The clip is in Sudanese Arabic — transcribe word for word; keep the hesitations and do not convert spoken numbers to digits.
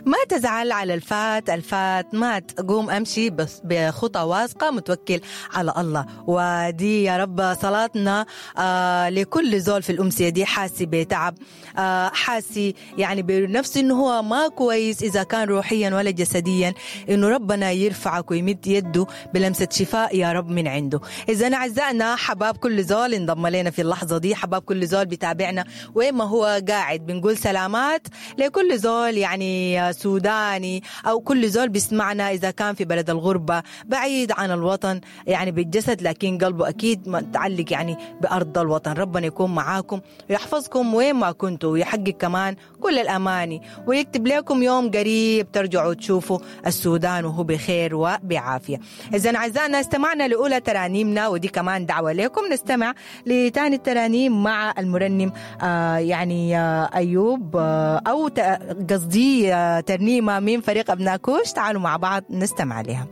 ما تزعل على الفات، الفات مات، قوم أمشي بس بخطى واثقة متوكل على الله. ودي يا رب صلاتنا آه لكل زول في الأمسية دي حاسي بتعب، آه حاسي يعني بنفسه إنه هو ما كويس إذا كان روحيا ولا جسديا، إنه ربنا يرفعك ويمد يده بلمسة شفاء يا رب من عنده. إذا أعزائنا حباب كل زول انضم لنا في اللحظة دي، حباب كل زول بيتابعنا وين ما هو قاعد، بنقول سلامات لكل زول يعني سوداني أو كل زول بيسمعنا إذا كان في بلد الغربة بعيد عن الوطن يعني بالجسد، لكن قلبه أكيد متعلق يعني بأرض الوطن. ربنا يكون معاكم ويحفظكم وين ما كنتوا، ويحقق كمان كل الأماني، ويكتب لكم يوم قريب ترجعوا تشوفوا السودان وهو بخير وبعافية. إذا أعزائنا استمعنا لأولى ترانيمنا، ودي كمان دعوة لكم نستمع لتاني الترانيم مع المرنم آه يعني آه أيوب آه أو قصدي آه ترنيمة من فريق أبناء كوش. تعالوا مع بعض نستمع لها.